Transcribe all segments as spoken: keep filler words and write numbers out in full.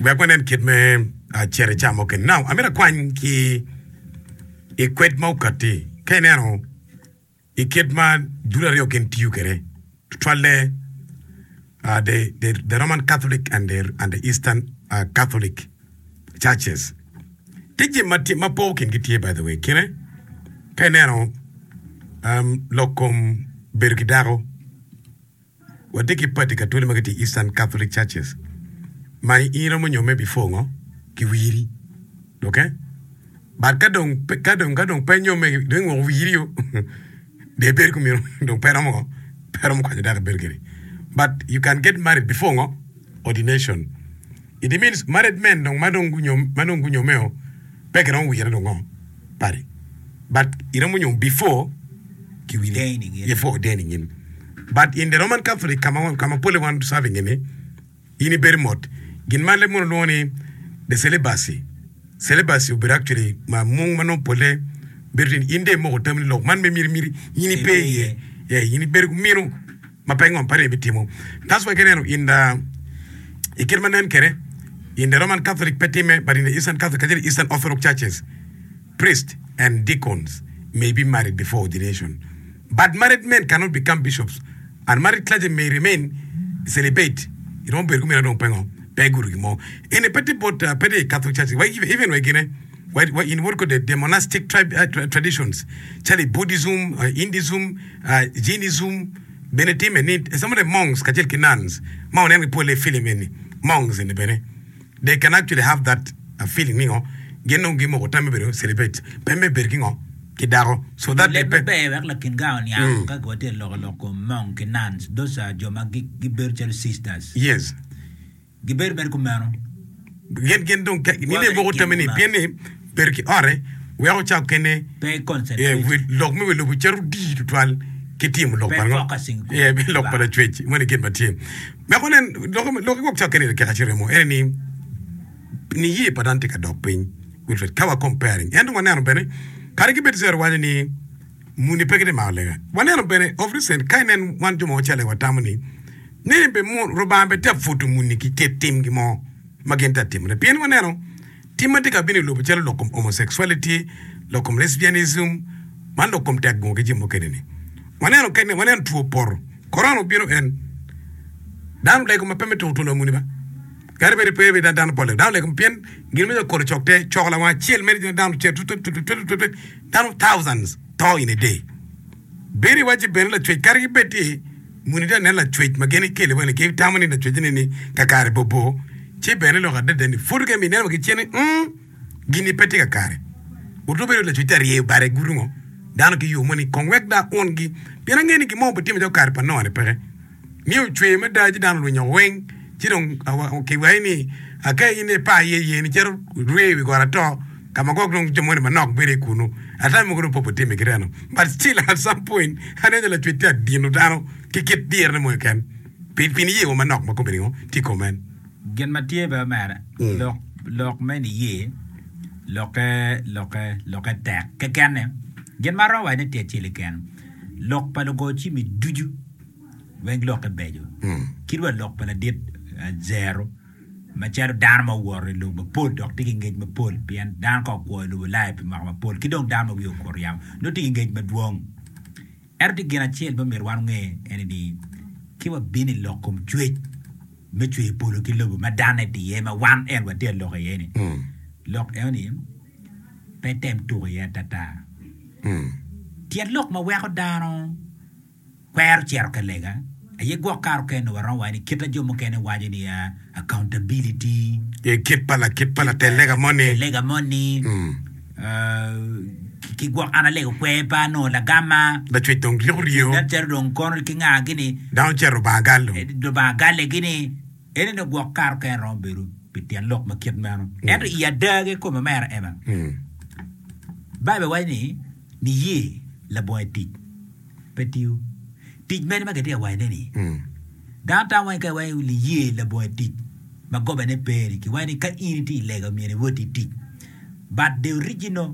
Wek wanen kit me cito i ca mukene. Now, amito akwany ki i kwed ma okatti ka ineno i kit ma dul aryo gin tiyo kwede tutwalle the, the, the Roman Catholic and the, and the Eastern uh, Catholic churches. Tye jami ma, tye, ma poko kingi tye by the way. Kine ka ineno um, lok kom bedo ki dako watye ki pati katoli ma gitye i Eastern Catholic churches ma in iromo nyomme before ngo kiwiri okay but ka dong ka dong ka dong pe nyomme dong ingwoko wiri o dong ibedo kumeno dong pe romo ngo pe romo kwanyo dako ibedo kede but you can get married before ngo ordination it means married men dong ma dong gunyom ma dong gunyomme o pe kiromo wire dong ngo padi but iromo nyom before kiwiri Ordaining in. before ordaining in but in the Roman Catholic kama kama pole wan serving ini in ibedo mot gin ma leb munu lwongo ni the celibacy celibacy obedo actually ma mung ma nongo pole bedo tye ni in dong imoko tam ni lok man me miri miri in ipe iye yeah, in ibedo kumino ma pe ngo pa ibitimo that's why kineno in the i kit ma nen kede in the Roman Catholic pe time but in the Eastern Catholic kacel Eastern Orthodox churches priests and deacons may be married before ordination but married men cannot become bishops and married clergy may remain celibate iromo bedo kumeno dong pe ngo pe gudo gin mo eni pe tye bot uh, pe tye i Catholic churches wa even, even wa gine wa, wa in what called the, the monastic tribe, uh, tra- traditions calo i Buddhism uh, Hinduism uh, Jainism bene time ni some of the monks kacel ki nuns ma waneno ki pole i film eni monks eni bene they can actually have that uh, feeling ni ngo gin dong gimoko tam me bedo celibate pe me bedo ki ngo ki dako so that they Leb pe maber wek lakin ga oniang ka watye loko lok kom monk ki nuns those are jo ma gi- gibedo calo sisters yes gibedo mere kumeno gin gin dong ni Wa ne bene moko kin tame ni kumeno. pien ni bedo ki ote weko ca kene pe eh, concentrate wi- lok me wi lobo cito di tutwal ki timo lok Pe pa ngo focusing kom Yeah, lok pa Lubanga. lacwec moni gin ma tye weko nen lok lok gwok ca kene keka ciremo ene ni niye pa dano tye ka dok piny Wilfred ka wa comparing ento waneno bene kadi ki bed zero waco ni muni pe gitye mako lega waneno bene of recent ka inen wan jo ma wacale watamo ni ni be mu Rubanga be tye pwodo muni ki kit timgi mo ma gin tye ka timone pien waneno tim ma tye ka bino i lobo calo lok kom homosexuality lok kom lesbianism man lok kom tek gungo ki jami mukene ni waneno kene waneno two poto korona obino en dano lego ma pe me tuko tulo muni ba kadi bed pe bed dano pol dano lego pien gin me kolo cok te coko lawang acel mere dano cel tut tut tut tut tut dano thousands to in a day bedo iwaci bene lacwec kadi ki bed ti muni tye nen lacwec ma gin ikele wene ki tamo ni lacwec ni ni kakare bobo ci bene lok adada ni pud ke mi neno ki cen ni mm, gini pe tye kakare oto bedo lacwec tye aryeyo bade gudo ngo dano ki yo mo ni kong wek da ungi pien ange ni gin mo obitimo calo kare pa Noa ni peke ni ocwe mada ci dano olwinyo weng ci dong kiwaci ni aka in ipa iye ye ni cito rwe i wi got ato ka ma gwok dong jo moni manok bedo i kunu ata mogo dong pe obitime ki reno but still at some point aneno lacwec tye adino dano ki kit dirone mo keken pi pi niye wa manok ma kobedi ngo tye i kom en gin ma tye be mere Mm. lok lok me niye lokke lokke lokke tek kekene gin ma romo wacone tye acel keken lok pa lugo cimi ducu weng lokke beco Mm. kit wa lok pa ladit eh, zero macalo dano ma owoto i lobo mapol dok tye ki ngec mapol pien dano ka okwo i lobo Ulaya pi mwaka mapol ki dong dano ma wiye okuto yamo nongo tye ki ngec madwong ento tye gin acel ma myero wan onge ene ni ki wabino i lok kom cwec me cweyo polo ki lobo ma dano tye iye ma wan en watye ka lok iye ni Mm. lok eno ni pe tem tuko iye atata Mm. tyen lok ma weko dano kwero cito ka lega aye gwok kare okene waromo waco ni kita jo mukene waco ni uh, accountability Eh, kit pa la kit pa latel lega moni lega moni Mm. uh, ki- ki gwok an alego kwer pa anongo lagama lacwec dong ryeko ryo nen calo dong kono ki nga gini dano cito Rubanga gal dong eh, Lubanga galle gini ene ni gwok kare okene romo bedo pi tyen lok ma kit meno ento i ada kikome mere ema Mm. Baibul waco ni niye labongo tic pe tiyo tic mene ma kitye ka wacone ni Mm. dano tamo wai ka iwaco niye labongo tic ma gobane pe ni kiwaco ni ka in itye i lega myero iwot i tic but the original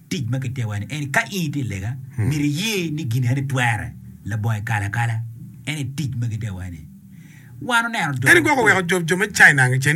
tic ma kitye ka waco ni en ka in itye i lega myero iye ni gini eni twere labongo ikala akala en tic ma kitye ka waco ni wan oneno jo En gwoko weko jo jo me China